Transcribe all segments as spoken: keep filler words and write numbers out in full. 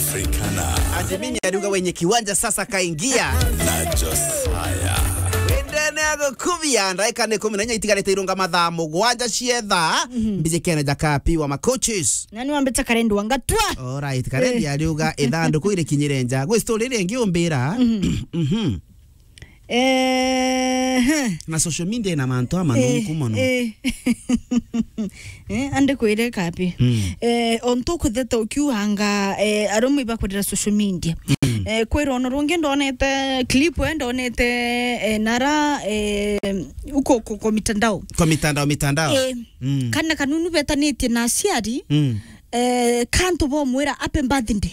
Africana. Ati mimi ariuga wenye kiwanja sasa kaingia. Na Josiah. Wendene agukubia, ndaika ni kumi na inya itigarite irunga mathaa mugwanja cietha. Mhm. Mbijikene ja Kapi wa Macoaches. Nani wambite Karendi wa Ngatwa? Alright, Karendi Eh. ariuga ithanduku irikinyire nja. Gwi story iria ingi umbira. Mhm. Mhm. Eh, Na social media ina mantu amanungu Eh, mono. eh. Eh, ande kwire Kapi. Mm. Eh, ontu kutheta ukiuanga, eh, arume ibakwendera social media. Mm. Eh, kwira ono rungi ndonete clip, eh, ndonete, eh, nara, eh, uko, uko, uko mitandao. Kwa mitandao, mitandao. Eh, Mm. kana kanunu betanitie na aciari, Mm. eh, kantu bomwira happy birthday.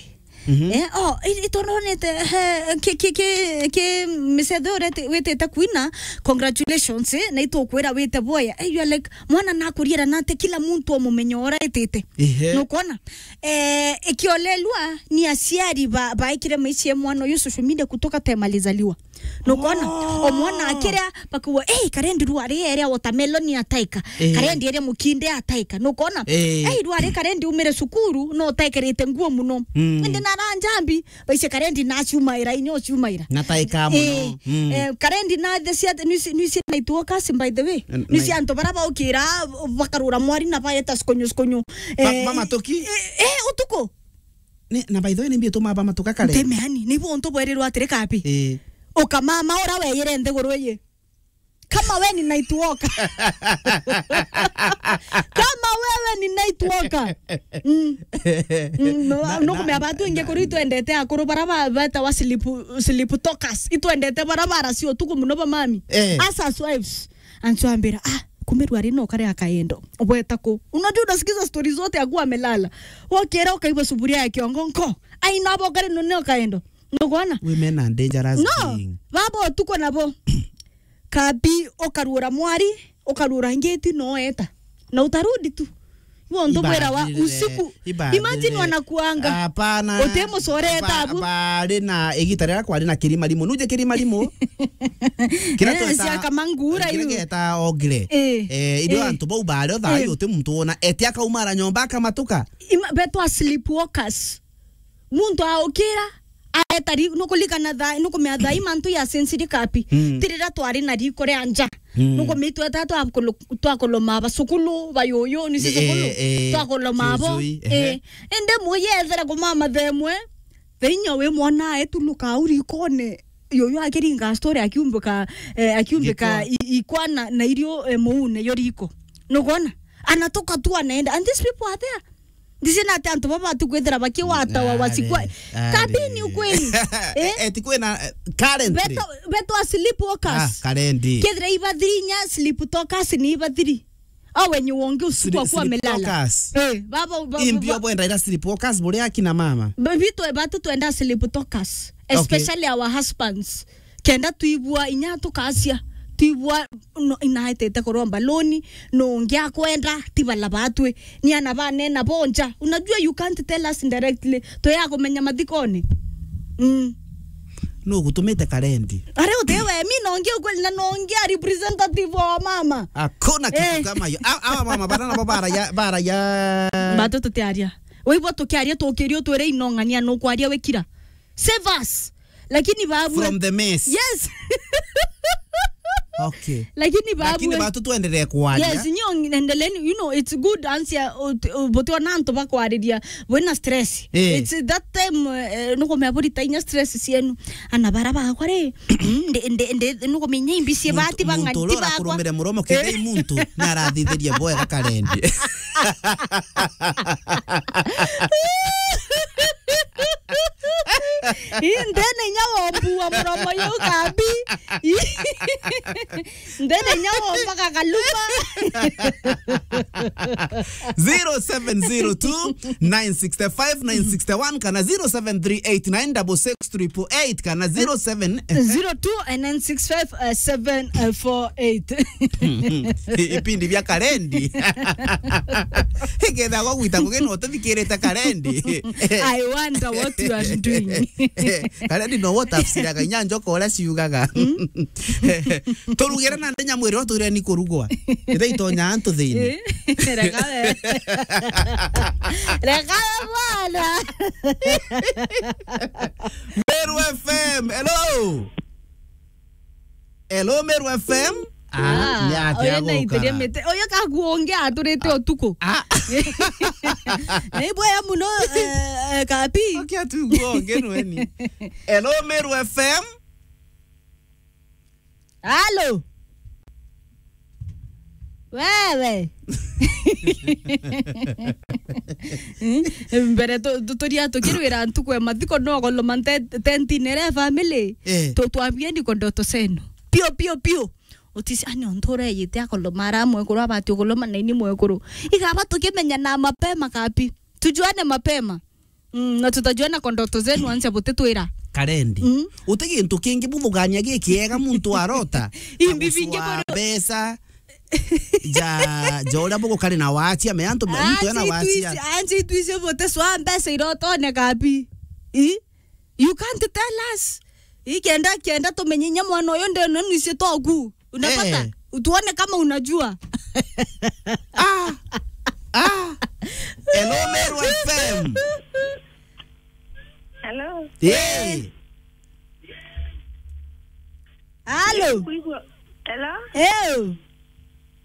Mhm. Eh, oh, i-, itononete, he, ki, ki, ki, ki micetho urete-, witite kwina, congratulations, eh, na itukwira wite boya. Eh, you are like, mwana nakuriera nate kila muntu omumenya ora etite. Ehe. Nukwona? Eh, ikiolelwa ni aciari ba, baikire maisha ya mwana uyu social media kutoka time alizaliwa. Nukwona? Oh. Omwana akiria, bakuwa, "Eh, Karendi rwari eria watermelon ataika. Eh. Karendi eria mukinde ataika." Nukwona? Eh. "Eh, rwari Karendi umire cukuru, no utaikirite nguo muno." Mm. Indi nara njambi, baise Karendi naciumaira, inyo ciumaira. Nataika muno. Eh, Mm. eh, Karendi na the cia, nisi, nisi na ituo kasi, by the way. N-, Nisi na antu bara baukira, bakarura mwari na baeta sikonyo, sikonyo. Ba-, Eh, ba matuki? Eh, eh, utuku. Ni, na by the way, ni mbio tuma ba matuka Karendi. Ntemeani, ni bo onto bwerirwa atiri Kapi. Eh. Ukamama ura weyire nthiguru iyi. Kama we ni night walker. Kama wewe ni night walker. Mm. Mm, no, Na, no na, kumea batu ingi na, kuri itwendete akuru bara ba, betawa sleep, sleep talkers. Itwendete bara bara cio tuku muno ba mami. Eh. Us as wives. Anchwambira, "Ah, kumbe rwari no kare akaendo." Ubweta ku. Unajua unasikiza story zote akuwa amelala. Wokera ukaigua sufuria ya kiongo nko. Ai, no bo kare no neo kaendo. Nugwana? Women are dangerous No, being. Baba utuko nabo. Kabi ukarura mwari, ukarura ngeti no eta. Na utarudi tu. Ibo ndo bwera wa Ibadilire, usiku. Ibadilire. Imagine wanakuanga. Hapana. Utemucore Ba-, tabu. Bari na igita riria kwari na kirima rimu. Nuje kirima rimu? Kira Eh, tweta, cia Kamangura kira yu. Geta ogre. Eh, Eh, irio eh. Antu bau bari o thayu Eh. Uti muntu wona. Eti akaumara nyomba akamatuka. Ima-, betwa sleepwalkers. Muntu aukira, aeta ri-, nukulikana tha-, nukumea thaa ii mantu ya sensitive Kapi. Mm. Tirira twari na riko ria nja. Mm. Nukumitweta twakulu-, twakuloma bacukulu, bayuyu, ni Eh, cicukulu, eh, twakuloma bo. Cicui, ehe. Eh. Indi muyi ethera kumama themwe, thainya wi mwana aetu nuka au rikone, yuyu akiringa story akiumbika, eh, akiumbika Gikwa. I-, ikwa na, na irio, eh, muune yo riko. Nugona? Anatoka tu anaenda. And these people are there. Ndisi na ati antu baba batu kwithira bakiwatawa Ari, wasikwa. Ari. Kabini ukweli. Eh? Eti kwina, eh, currently. Beto, beto a sleep walkers. Ah, Karendi. Kethira ibathiri inya sleep talkers ni ibathiri. Au wenye wongi usiku Sleep, akuwa sleep amelala. Talkers. Eh, baba, baba, Imbio bwenda ira sleep walkers buri akina mama. Ba-, bitwe batu twenda sleep talkers. Okay. Especially our husbands. Kenda tuibua inya tukacia, tuibua no, inaetete kuromba loan, no ungi akwenda, ti bala batwi, ni ana banena bonja. Unajua you can't tell us directly, tuya kumenya mathikoni. Mm. No gutumite Karendi. Are utewe, mi no ungi ukweli na no ungi a representative wa mama. Hakuna kitu Eh. Kama hiyo. A-, awa mama bana nabo bara ya, bara ya. Batu tutiaria. Waibo tukiaria tukirio twire inong'ania no kwaria wikira. Save us. Lakini babu From the mess. Yes. Okay. Lakini babu Lakini batu tuendelee kwaria. Yes, nyo endeleeni, you know, it's good answer, but wana antu bakwariria wena stress. Eh. It's that time, eh, nukumea burita inya stress cienu. Ana bara bakwa ri, mm, ndi, ndi, ndi, nukumenya imbi cie Muntu, bati bang'ani muntu uria ti bakwa. Urakurumire muromo kethei muntu na arathithirie bwega Karendi. Ii, ndene inya wombu wa muromo yu Kabi. Ndene inya wombaga kaluma. Zero seven zero two, nine six five, nine six one kana zero seven three eight nine double six triple eight kana zero seven zero two nine six five seven four eight. Ipindi bia Karendi. Ikethagwo gwita kugina utithikirite Karendi. I wonder what you are doing. Karendi no wo tafsiraga inya njoka uria ciugaga. Mm. Turugire na ndenya mwiri uria twire ni kurugwa. Ira itonya antu thiini. Eh. Reka we. Reka we bwana. Meru F M, hello. Hello, Meru F M. Ah, ni atia uyu na guka? Itiria mite. Uyu kaguo ungi aturite utuku. Ah. Ni bwega muno, eh, eh, Kapi. Okay, atuguo ungi nweni. Hello, Meru F M. Halo. Wewe. Hmm? Mbere tu-, tu-, turia tukirwira ntuku ya mathiko no goloma nte-, tentine ria family. Eh. Tu-, twambieni kwa ndoto zenu. Pio, pio, pio. Utisi, ani ontu ureyite akoloma ara mwekuru abati ukoloma na ini mwekuru. Igaba tukimenya na mapema Kapi. Tujuane mapema. Mm, na tutajuana kwa ndoto zenu, ansia butitwira. Karendi. Mm. Uti gintu kingi buthugania gikiega muntu arota. Imbi bingi. Aguswa buru- mbeca. Ja, ja uria bugukari na wacia, me antu, muntu ena wacia. Ansi itwisi buteswa mbeca irotone Kapi. I? You can't tell us. I kenda, kenda tumenye inya mwana uyu ndeno nisi toku. Unapata? Eh. Tuone kama unajua. Ah. Ah. Hello, Meru F M. Hello. Hey. Halo. Nkuigua. Hello. Ew.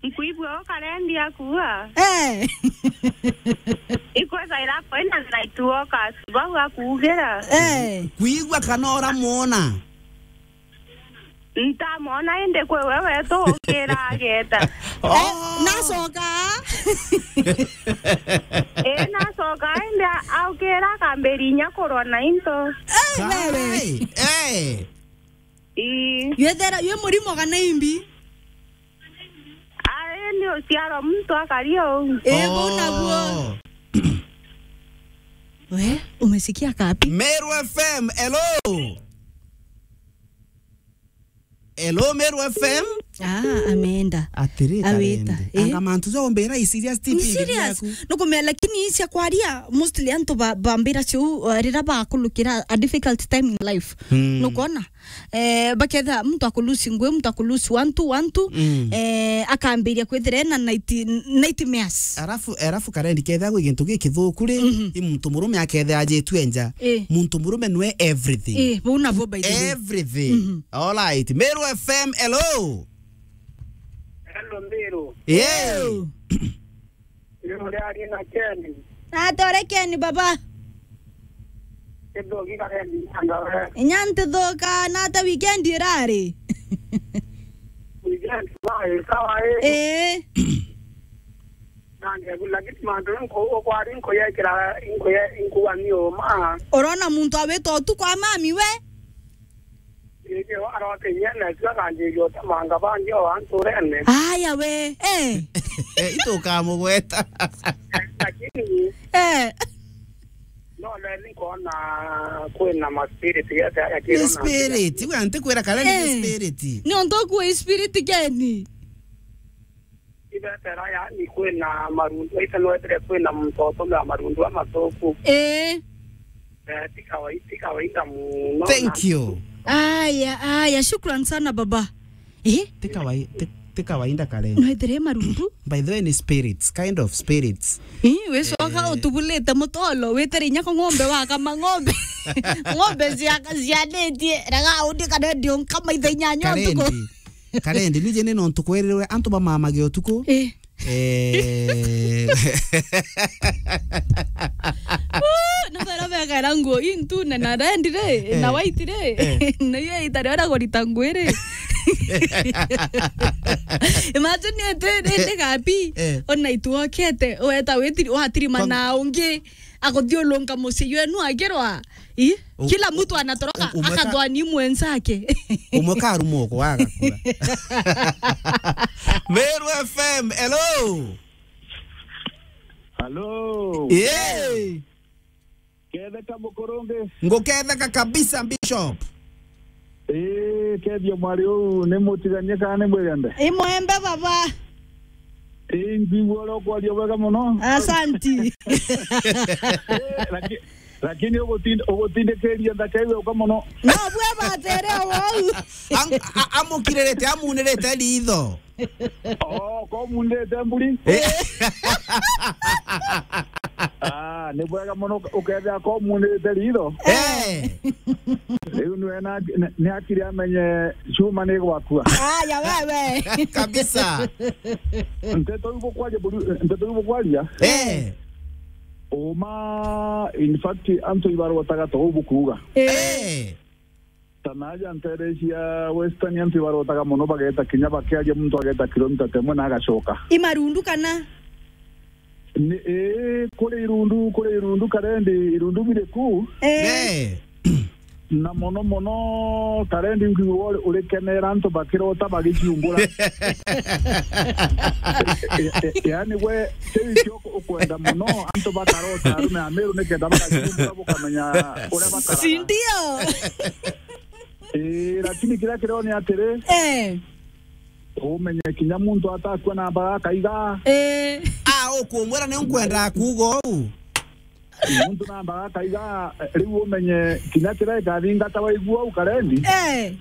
Nkuigua o Karendi akua. Eh. Ikweza ira kwina night walkers bau akuugira. Eh. Kuigua kana uramwona? Ntamwona indi kwi we wetu ukira ageta. Oh. Eh, nacoka. Eh, nacoka indi a-, aukira akambiri inya kurwa na into. Eh, wewe. Kai, eh. Ii. Yethera, ywe murimo kana imbi? Ai, ni uciarwa muntu akari uu. Eh, bau nabuo. Oh. We, umesikia Kapi? Meru F M, hello. Hello, Meru F M. Ah, ameenda. Atiri, awita, Karendi. Eh? Anga mantu ja umbira i serious, T V. Ni serious. Nukumea, lakini cia kwaria, mostly antu ba-, bambira ciu, uh, rira bakulukira a difficult time in life. Hmm. Nukona? Eh, baketha muntu akulusi ngui, muntu akulusi wantu, wantu, mm, eh, akambiria kwithira ena night, nightmares. Arafu, arafu Karendi, ketha gwi gintu gikithuku ri, mhm, i muntu murume aketha ajitue nja. Eh. Muntu murume nwe everything. Eh, bau nabo by the way. Everything. Mhm. All right. Meru F M, hello. Hello, Meru. Yeah. Hello. Ni uriaria na Ken. Natore Ken, baba. Kithuki Karendi, anga we. Inya ntithuka, nata weekend irari? Weekend, bye, sawa, eh. Eh. Nange, lakini mantu nko-, ukwari nkoyekira, nkoye-, nkuwa ni uma. Urona muntu awita utuku a mami we? Indi arokinyia na cio akanjiria utemanga bangi o anturene. Aya we, eh. Eh, itukamugweta. Lakini, eh, no, le nkwona kwina ma spirit yete aya. Ni kiro na spirit, we antikwira kana ni, eh, spirit. Ni ontu kuwe spirit Ken. Ibetera, yani, kwina marundu, ite nwetire kwina muntu utumira marundu amathuku. Eh. Eh, ti kawai-, ti kawaida muno. Thank you. Aya, aya, shukran sana baba. Eh? Ti kawai-, ti, ti kawaida kare. Nwetire marundu? By the way, ni spirits, kind of spirits. Eh, wicoka, eh, utubulite mutolo, witire inya ko ng'ombe wakama ng'ombe. Ng'ombe cia-, cianitie, rega undi kana ndio nkama ithe inyanya utuku. Karendi. Karendi, nije ni nontu kwerirwe antu bamamage utuku. Eh. Eh. Woo, na bara bekaira nguo intu na, na red ri, na, eh, white ri. Eh. Na iyo ita ria kurita ngui ri. Imagine ete, ri, ri gapi. Eh. Ona itu okete, weta wetiri, watirima na ungi. Akuthiurunka mucii jwenu akirwa. I? U-, kila mtu anatoroka, u-, umwe ka-, akathwani mwenzake. Umwe karumwa uko agakua. Meru F M, hello. Hello. Yeah. Ketheka mukurungi. Nguketheka kabisa, Bishop. Ii, kethia mwari uu ni mutiganie kana ni mwirende? I mwembe baba. Ii, nkwigua uria ukwaria bwega muno. Asanti. Ii, laki-, lakini ugutinda, ugutindikiria nthaka iu yauka muno. No bwe batere wou. Am-, a-, amukiririte, amunirite ritho. Oh, ko mundite mburi? Eh. Ah, ni bwega mono ukethia ko mundite ritho. Eh. Riu ni wena, ni akiri amenye cuma ni gwakua. Aya wewe. Kabisa. Nteto iu bukwaria buru-, nteto iu bukwaria. Eh. Uma, in fact, antu ibarotaga to bukuuga. Eh. Eh. Ta naaja nteere cia Western antu ibarotaga mono, bageeta kinya bakiaria muntu ageeta kilomita temwe na agacoka. I marundu kana? Ni, ii, kuri irundu, kuri irundu karendi, irundu biri ku. Eh. Eh. Na mono mono karendi nkwigua uri, urikenera antu bakirota bagiciumbura. E, e, e, yaani we, kiu ikio ukwenda mono, antu bakarota arume a Meru nikenda bagaciumbura bukamenya uria bakaraga. Si ndio? Ii, lakini kiria kirio ni atiri, eh, umenye kinya muntu atakua na mbara akaiga. Eh. Ah, ukumwira ni nkwenda kuuga uu. Muntu na mbara akaiga, eh, riu umenye kinya kiria ikathingata waigua uu karendi. Eh.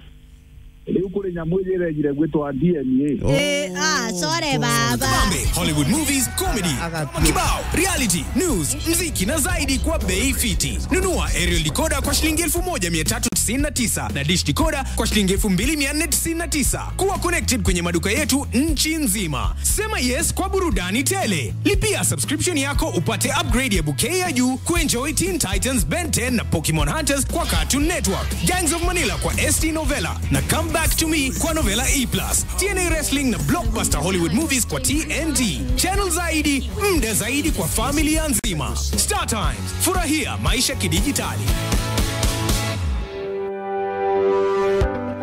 Riu kuri nyamu iji irejire gwitwa D N A. Eh, ah, sore baba. Kabambe, Hollywood movies, comedy, aga-, aga-, kibao, reality, news, mziki na zaidi kwa bei fiti. Nunua aerial decoder kwa shilingi elfu moja mia tatu tisini na tisa na dish decoder kwa shilingi elfu mbili mia nne tisini na tisa. Kuwa connected kwenye maduka yetu nchi nzima. Sema yes kwa burudani tele. Lipia subscription yako upate upgrade ya bouquet ya juu kuenjoy Teen Titans, Ben ten na Pokemon Hunters kwa Cartoon Network, Gangs of Manila kwa S T Novella na Come Back to Me kwa Novella E plus, T N A Wrestling na blockbuster Hollywood movies kwa T N T. Channel zaidi, muda zaidi kwa familia nzima. Star Times, furahia maisha kidijitali.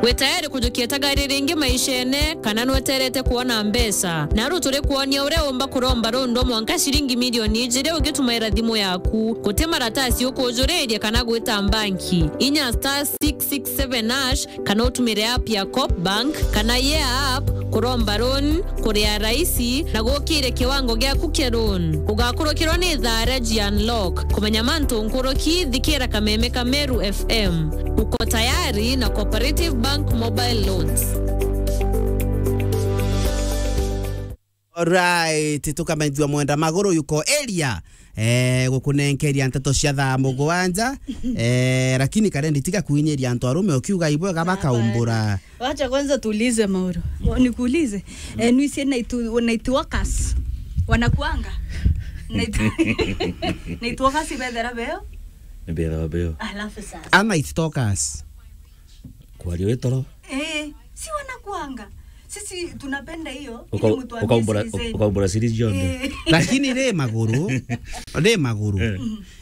Wi tayari kujukia tagari ringi maishene, kana nweterete kwona mbeca? Naru turi kwonia uria umba kuromba rundu mwanka ciringi milioni ijiri ugitumaira thimu yaku. Guti maratasi ukujuriria kana gwita mbanki. Inya star six six seven hash, kana utumire app ya Coop Bank kana Yeah app kuromba loan, kuria raisi na gukire kiwango giaku kia loan. Ugakurukirwa ni thaa ria G Unlock. Kumenya mantu nkuruki, thikira kameme ka Meru F M. Uko tayari na Cooperative Bank Mobile Loans. Alright, tukamethua Mwenda Maguru yuko area, eh, gukunenkeria nteto cia thaa mugwanja, eh, lakini karendi tiga kuinyiria antu arume ukiuga ibwega bakaumbura. Wacha kwanza tuulize Mauro. Nikuulize, eh, nwisi night, night workers wanakuanga? Night, night workers ibethera beo? Ibethera beo. Alafu sasa. A night stalkers. Kwaria wi toro. Eh, si wanakuanga. Sisi tunapenda hiyo, ili uka-, mtu ambie ukaumbura, siri zenu. Ukaumbura siri cionthe. Eh. Lakini ri Maguru, ri Maguru. Eh.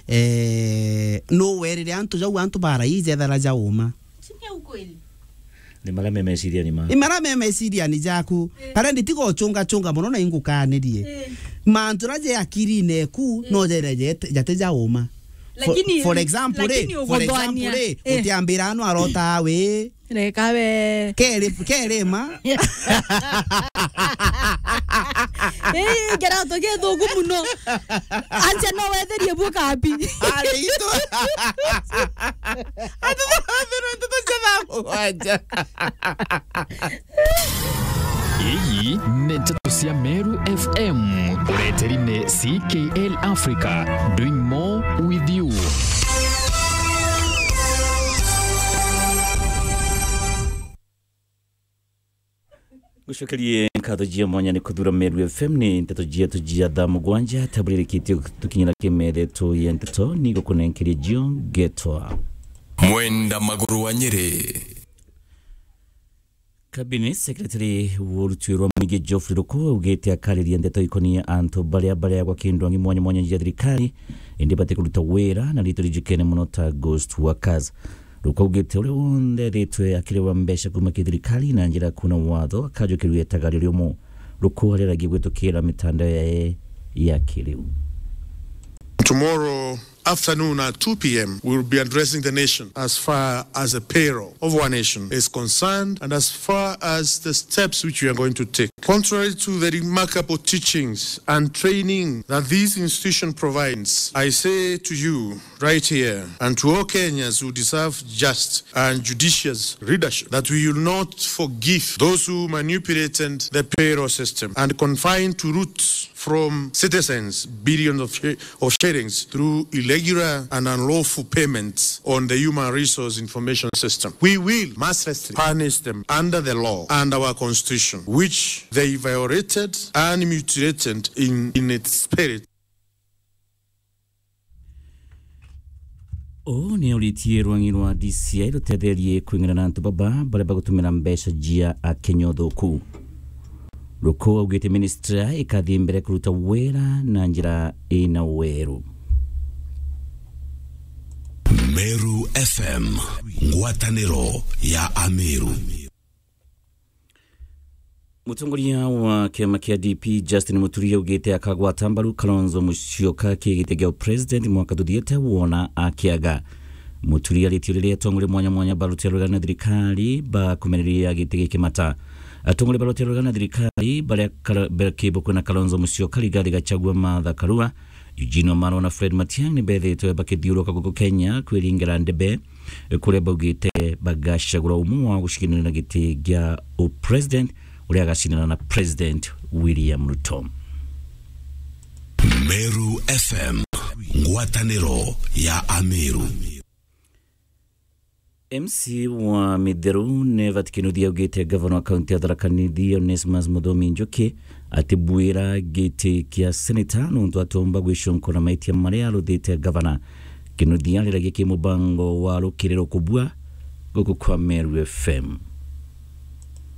Eh, no werire antu jau antu bara ijethera jauma. Si ni ukweli? Ni maria me meciriani ma. Ni maria me meciriani jaku. Eh. Karendi tiga uchunga chunga mono na ingukanirie. Eh. Mantu raje akirine ku, eh, no jere jete, jate jauma. For, lakini, for example, lakini ri, for example, ri, eh, utiambira anu arota we. Reka we. Keri, keri ma. Eh, kirato githuku muno. Anja no wetherie buo kabi. Ari itu. Atu no wetherie nteto cia thaa mugwanja. Iyi ni nteto cia Meru F M. Ureteri ni C K L Africa. Doing more with you. Ngucokerie nkatho cia mwanya ni kuthura Meru F M. Ni nteto cietu cia thaa mugwanja, tabulirikitie tukinyira kimethe tu ya nteto, ni gukunenkeria cio ngetwa Mwenda Maguru wa Nyeri. Cabinet Secretary wa urutwi rwa mwingi Geoffrey Ruku augite akariria ndeto ikonie antu baria bareagwa kindu ang'i mwanya mwanya cia thirikari, indi batikuruta wira na riitwa rijikene mono ta ghost workers. Ruku augite uria wonthe ethitwe akirihwa mbeca kuuma ki thirikari na njira ya kuuna watho akajukirua itagario riumu. Ruku ariaragia gwitukira mitandao yae ya kiriu. Tomorrow, afternoon at two p m, we will be addressing the nation as far as the payroll of our nation is concerned and as far as the steps which we are going to take. Contrary to the remarkable teachings and training that this institution provides, I say to you right here and to all Kenyans who deserve just and judicious leadership that we will not forgive those who manipulated the payroll system and confined to roots from citizens billions of, shi- of shillings through irregular and unlawful payments on the human resource information system. We will mercilessly punish them under the law and our constitution, which they violated and mutilated in, in its spirit. Uu ni uritie rwang'i rwa D C I rutetherie kwing'ana na antu baba baria bagutumira mbeca jia Akenya uthuku. Ruku augite ministry ikathii mbere kuruta wira na njira ina weru. Meru F M, ngwataniro ya Ameru. Mutongoria wa kiama kia D P, Justin Muturi, augite akagwata mbaru Kalonzo Musyoka kiri giti gia president mwaka tuthiete wona akiaga. Muturi aritie riria atongoria mwanya mwanya barutia rugana na thirikari bakumereria giti giki mata. Atongoria barutia rugana na thirikari baria kara- bakibukwe na Kalonzo Musyoka, Rigathi Gachagua, Martha Karua, Eugene Wamalwa na Fred Matiang'i nibethitwe bakithiuruka guku Kenya kwiringira ndebe, kuria baugite bagacagura umwe wa gucindana na giti gia upresident uria agacindana na President William Ruto. Meru F M, ngwataniro ya Ameru. M C wa Mitheru, Nevat Kinuthia, augite gavana wa kaunti ya Tharaka Nithi, Onesmus Muthomi Njuki, atibwira giti kia seneta nontu atomba gwiconkora maitia maria aruthite gavana. Kinuthia ariragia ki mubango wa rukiri rukubua guku kwa Meru F M.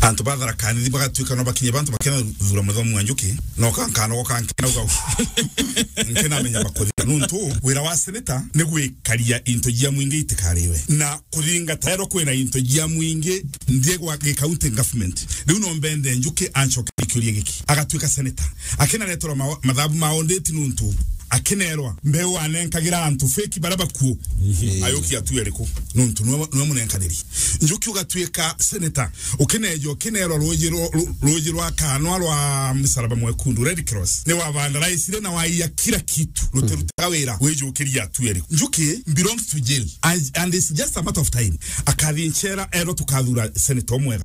Antu ba Tharaka Nithi bagatuika no bakinye bantu bakena thura Muthomi wa Njuki, no kankanogo kankena ugau. Nkena menya bakuthika. Nontu wira wa seneta ni gwikaria into jia mwingi itikariwe. Na kuthingata ero kwina into jia mwingi nthie gwa gikaunti government. Riu no mbende Njuki ancoke ikiuria giki. Agatuika seneta. Akinareterwa ma- mathabu ma audit nuntu akinerwa mbeu anenkagira antu feki baria bakuo. Ayuki atu eriku? Nuntu niwe niwe munenkaniri. Njuki ugatuika seneta. Ukineja ukinerwa ruji rwa- ru- ruji rwa kanwa rwa msalaba mwekundu, Red Cross. Ni wavandaraicire na waiya kila kitu. Rutirutaga wira wijukiria atu eriku? Njuki belongs to jail. And, and it's just a matter of time. Akathi nchera, ero tukathura senator umwega.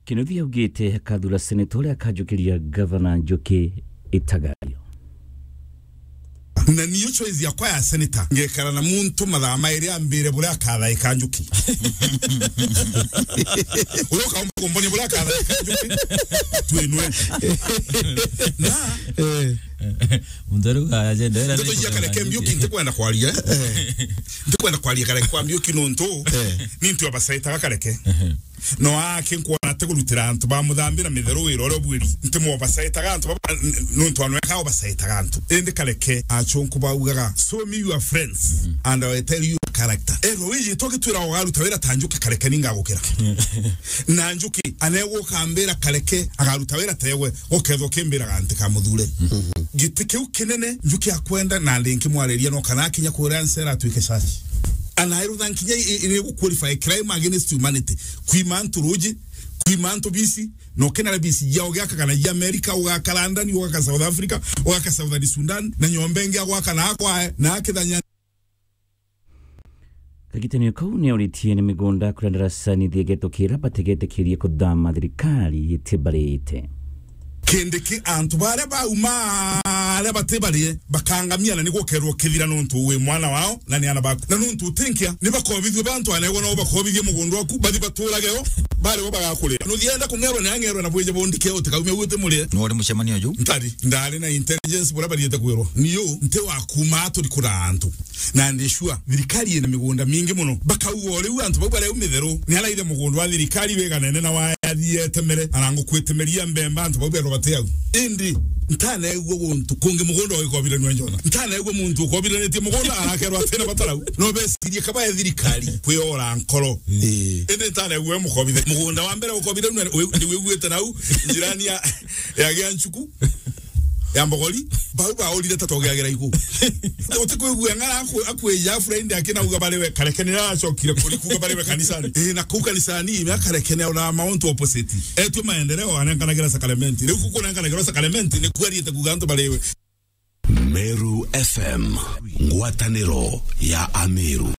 Kinuthia augite akathura senator uria akajukiria gavana Njuki itagario. Na niyo choice yakwa ya senator, ngekara na muntu mathaa mairi ambire buria akathaika Njuki. Uria ukaumba kumboni buria akathaika Njuki, twinwe. Na Eh. Muntu ariuga ajenda era ndeto cia Kareke Mbiuki ntikwenda kwaria, eh. Ntikwenda kwaria Kareke kwa Mbiuki nontu, eh, ni ntu abacaitaga Kareke. No ake nkwona ati kurutira antu ba Muthambira Mitheru wira uria ubwiri. Nti mo bacaitaga antu baba, n- nontu anweka o bacaitaga antu. Indi Kareke achunku baugaga, "Show me your friends and I will tell you your character." Ego wiji togitwira ugaruta wira ta Njuki Kareke ningagukira. Na Njuki anegwa ukambira Kareke agaruta wira tegwe, ukethwa ukimbiraga nti kamuthure. Giti kiu kinene Njuki akwenda na ndi nkimwariria no kana akinya kuria ncera atuike caci. Anairutha nkinya i- i- iri gu qualify crime against humanity. Kwima antu ruji, kwima antu bisi, no kena bisi ya ugaka kana ya America, ugaka London, ugaka South Africa, ugaka Southern Sudan, na nyomba ingi agwaka na akwa na akithanya. Kagitanio kau ni auritie ni migunda kuria ndarasani thiegeto kira bategetikirie kuthama thirikari itibarite. Kindiki antu baria bauma aria batibarie bakangamia na nigukerwo kithira nontu wi mwana wao na ni ana baku. Na nontu utinkia ni bakobithue bantu anegwa nao bakobithie mugunda waku bathi baturage o bari bo bagakuria. Nuthienda kungerwa ni angerwe na bwije bondike utikaumia gwite murie. Ni wari mucemanio ju? Ntari, ndari na intelligence buria bariete kwirwa. Niu nti wa kuma turi kura antu. Na ndi sure thirikari ina migunda mingi muno. Bakauga o riu antu bau baria u Mitheru ni araithe mugunda wa thirikari wiganene na wa yathie etemere, ana ngukwetemeria mbemba antu bau berwa bati au. Indi ntaneigua guntu kungi mugunda ugikobiranua njona. Ntaneigua muntu ukobiranitie mugunda arakerwa atina bata nau. No becirie kaba e thirikari kwiora nkoro. Ii. Indi ntaneigua e mukobithe. Mugunda wa mbere ukobiranua ni wi- ni wiguite nau njirani ya, ya Gianchuku. ya mbogori, bau baurire ta togeagira igu. Utikwigua ng'ara akwe-, akwija Friday akinauga bari we karekene, acokire kuri kuuga bari we kanisani. Ii, na kuu kanisani, ime akarekene ona mount opposite. Etwe maendeleo anenkanagira sakramenti. Riu kukunenkanagirwa sakramenti, ni kuariite kuuga antu bari we. Meru F M, ngwataniro ya Ameru.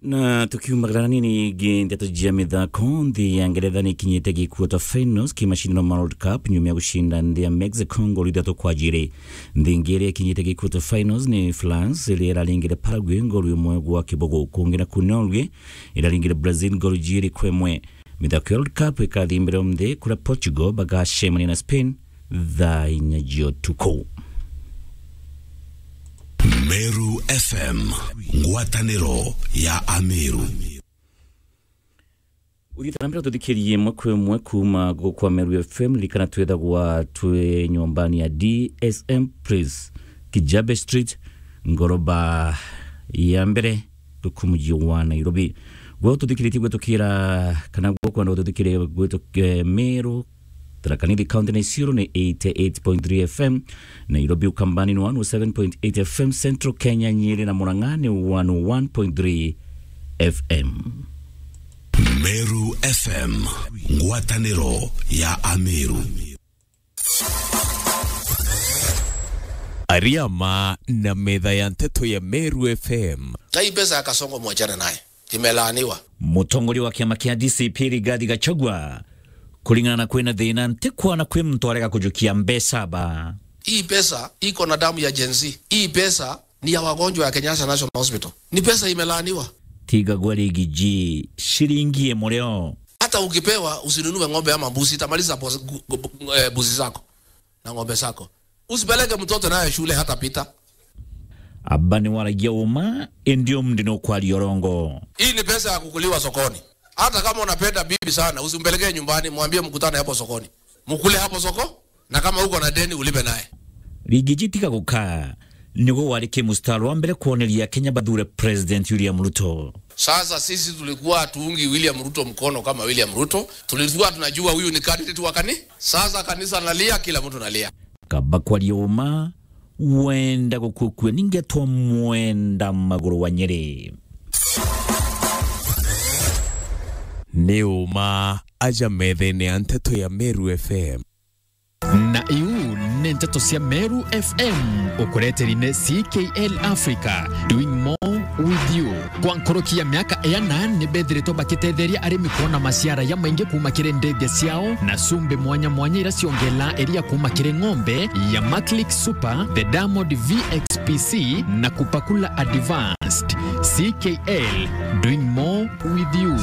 Na tukiumagara nini ingi, ndeto cia mithako, nthi ya Ngeretha ni ikinyite gi quarter finals ki mashindano ma World Cup nyuma ya gucinda nthi ya Mexico ngolu ithatu kwa jiri. Nthi ingi iria ikinyite gi quarter finals ni France, iria iraringire Paraguay ngolu imwe gwa kibugu. Kungi na ku Norway, iraringire Brazil ngolu jiri kwa imwe. Mithako ya World Cup ikathi mbere umthi, kuria Portugal bagacemania na Spain thaa inya cia utuku. Meru F M, ngwataniro ya Ameru. Uthitana mbere tuthikirie imwe kwa imwe kuuma guku kwa Meru F M, ririkana twithagwa twi nyumbani ya D S M Place, Kijabe Street, ngoroba ya mbere, guku muji wa Nairobi. Gwe tuthikiritie gwitukira, kana gwe kwenda gututhikiria gwituk-, eh, Meru, Tharaka Nithi County na Isiolo ni eighty eight point three F M, Nairobi Ukambani ni one oh seven point eight F M, Central Kenya, Nyeri na Murang'a ni one oh one point three F M. Meru F M, ngwataniro ya Ameru. Ariama na metha ya nteto ya Meru F M. Na hii pesa ya Kasongo mwachane naye. Imelaaniwa. Mutongoria wa kiama kia D C P Rigathi Gachagua, kuringana na kwina thina, ntikwana kwi muntu arega kujukia mbeca ba. Hii pesa iko na damu ya Gen Z. Hii pesa ni ya wagonjwa ya Kenyatta National Hospital. Ni pesa imelaaniwa. Tiga gwa rigi ji, shilingi imwe rio. Hata ukipewa, usinunue ng'ombe ama mbuzi, itamaliza pos-, gu-, gu-, eh, mbuzi zako na ng'ombe zako. Usipeleke mtoto naye shule hata pita. Aba ni waragia uma, indi umndi ni ukwaria urongo. Hii ni pesa ya kukuliwa sokoni. Hata kama unapenda bibi sana, usimpelekee nyumbani, mwambie mkutane hapo sokoni. Mkule hapo soko, na kama uko na deni, ulipe naye. Rigiji tiga gukaa, niguo wari ki mustari wa mbere kwoneria Kenya bathure President William Ruto. Sasa sisi tulikuwa hatuungi William Ruto mkono kama William Ruto. Tulikuwa tunajua huyu ni candidate wa kani-, sasa kanisa nalia, kila mtu nalia. Kaba kwaria uma, wenda gukukua, ningetwa mwenda maguru wa Nyeri. Ni uma aja methene ya nteto ya Meru F M. Na iu ni nteto cia Meru F M, ukureteri ni C K L Africa, doing more with you. Kwa nkuruki ya miaka iana, ni bethiritwe bakitetheria arimi kwona maciara ya maingi kuuma kiri ndege ciao na cumbi mwanya mwanya ira ciongelaa iria kuuma kiri ng'ombe ya Maclick Super, the Diamond V X P C na Kupakula Advanced. C K L, doing more with you.